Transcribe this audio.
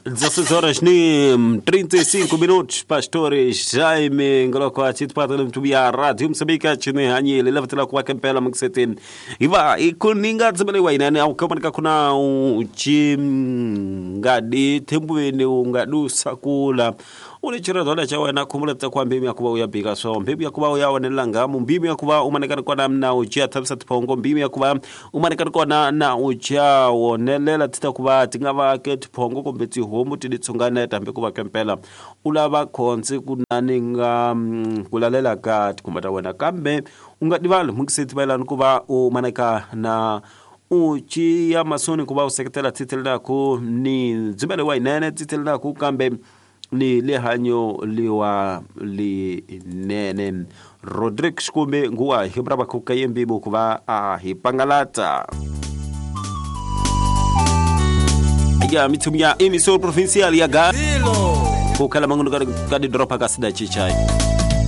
16 horas ni 35 minutos. Pastores Jaime Ngoloko achitipata mtumia Radio Msambika chini hanyile levatela kwa kempela mkisetin. Iva ikuninga tsibele wainane au kama nika kuna chingadi thembweni ungadusa kula. Ulichira cha wena khumula kwa mbimi yakuba uyabika so mbimi yakuba uyawonelela ngamu mbimi yakuba umanekana kona na uja thabisa tiphongo mbimi yakuba umanekana kona na uja wonelela tita kuba tingava ke tiphongo kumbe tihomu tiditsungana tambe kuba kempela ulava khonse kunani nga kulalela ka tikhumba wena kambe ungadivali mukiseti bailani kuba umaneka na uchi ya masoni kuba useketela titelela ku ni dzibele wainene titelela ku kambe ni lehanyo liwa linene Rodrigue Kumbe nguwa hibraba kukayembi bukuba a hipangalata ya mitumia emisor provincial ya ga kukala manguno ka di dropa ka sida chichai.